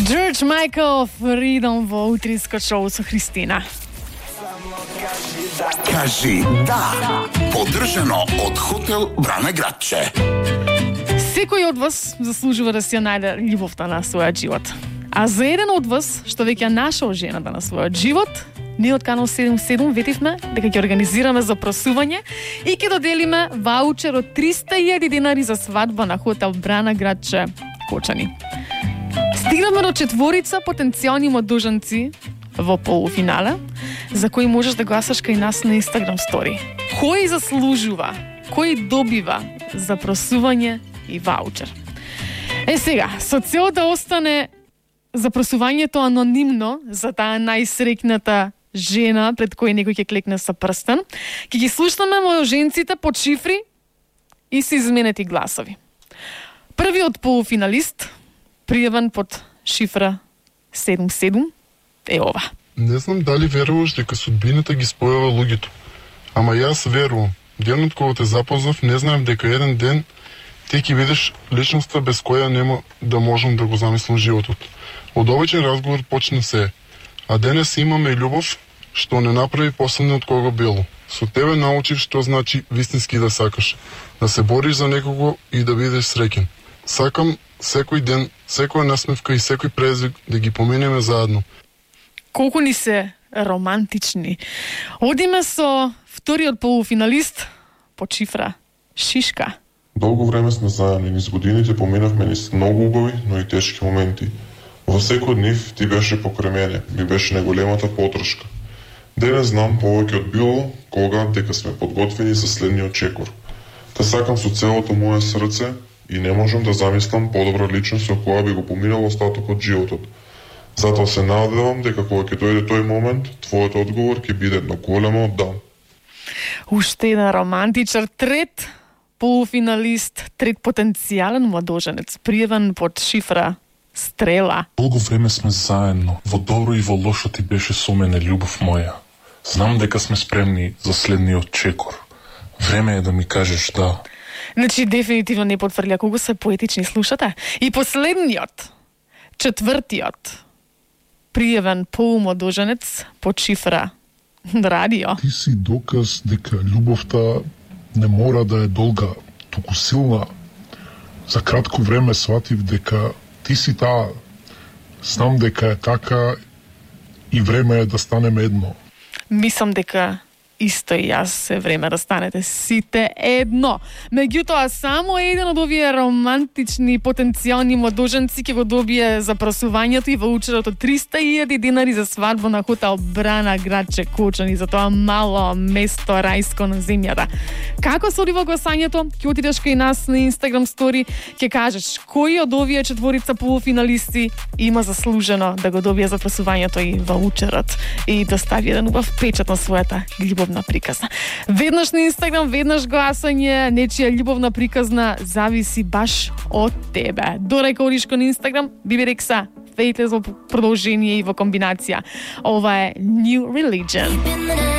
George Michael, Freedom во утринско шоу со Христина. Кажи да. Поддржано од хотел Брана Градче. Секој од вас заслужува да си ја најде љубовта на својот живот. А за еден од вас, што веќе нашол жената на својот живот, ние од Канал 77 ветивме дека ќе организираме запросување и ќе доделиме ваучер од 300.000 денари за свадба на хотел Брана Градче, Кочани. Стигнавме до 4 потенцијални младоженци во полуфинале, за кои можеш да гласаш кај нас на Instagram стори. Кој заслужува, кој добива запросување и ваучер. Сега, со цел да остане запросувањето анонимно за таа најсреќната жена пред кој некој ќе клекне со прстен, ќе ги слушнаме младоженците под шифри и се изменети гласови. Првиот полуфиналист, пријавен под шифра 77, е ова. Не знам дали веруваш дека судбината ги спојува луѓето. Ама јас верувам. Денот кога те запознав, не знаев дека еден ден ти ќе видиш личноста без која нема да можам да го замислам животот. Од обичен разговор почна се. А денес имаме и љубов, што не направи последниот кого било. Со тебе научив што значи вистински да сакаш. Да се бориш за некого и да бидеш среќен. Сакам секој ден, секоја насмевка и секој презвик да ги поминеме заедно. Колку ни се романтични. Одиме со вториот полуфиналист под шифра Шишка. Долго време сме заедно и низ годините поминавме низ многу убави, но и тешки моменти. Во секој од нив ти беше покрај мене, ми беше најголемата подршка. Денес знам повеќе од било кога дека сме подготвени за следниот чекор. Те сакам со целото моје срце и не можам да замислам подобра личност со која би го поминал остатокот животот. Затоа се надевам дека кога ќе дојде тој момент, твојот одговор ќе биде едно големо да. Уште еден романтичар, трет полуфиналист, трет потенцијален младоженец, пријавен под шифра Стрела. Долго време сме заедно, во добро и во лошо ти беше со мене, љубов моја. Знам дека сме спремни за следниот чекор. Време е да ми кажеш да. Значи, дефинитивно не потврдја колку се поетични, слушате? И последниот, четвртиот, пријавен полумладоженец под шифра Радио. Ти си доказ дека љубовта не мора да е долга, туку силна. За кратко време сватив дека ти си таа. Знам дека е така и време е да станеме едно. Мислам дека исто и јас се време да станете сите едно. Меѓутоа, само еден од овие романтични потенцијални младоженци ќе го добие запросувањето и ваучерот од 300.000 денари за свадба на хотел Брана Градче, Кочани, за тоа мало место рајско на земјата. Како се одива гласањето? Ќе отидеш кај нас на Instagram стори, ќе кажеш кој од овие 4 полуфиналисти има заслужено да го добие запросувањето и ваучерот и да стави еден убав печат на својата љубовна приказна. Веднаш на Инстаграм, веднаш гласање, нечија љубовна приказна зависи баш од тебе. Дорека одиш кон Инстаграм, Биби Рекса, Faithless во продолжение и во комбинација. Ова е New Religion.